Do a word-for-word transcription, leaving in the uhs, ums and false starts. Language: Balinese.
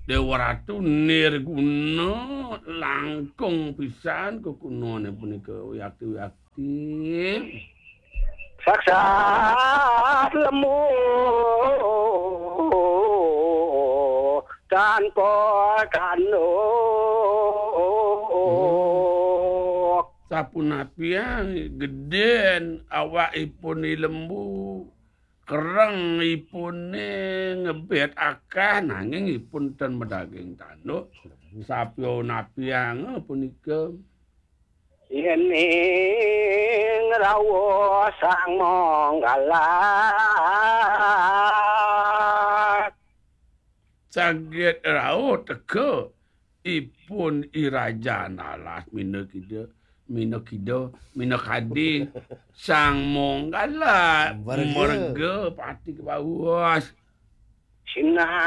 Déwa Ratu nirguna langkung pisan kekunane punika, wiakti-wiakti. Saksat lembu tanpa tanduk. Sapunapian gedén awakipun I Lembu, kereng ipune ngebet akah, nanging ipun ten madaging tanduk. Sapunapian punika. Yening rawuh Sang Manggala. Saget rauh teka ipun I Rajan Alas minakida, minakida, minakadi Sang Manggala. Merga. Merga pati kebawas. Sinah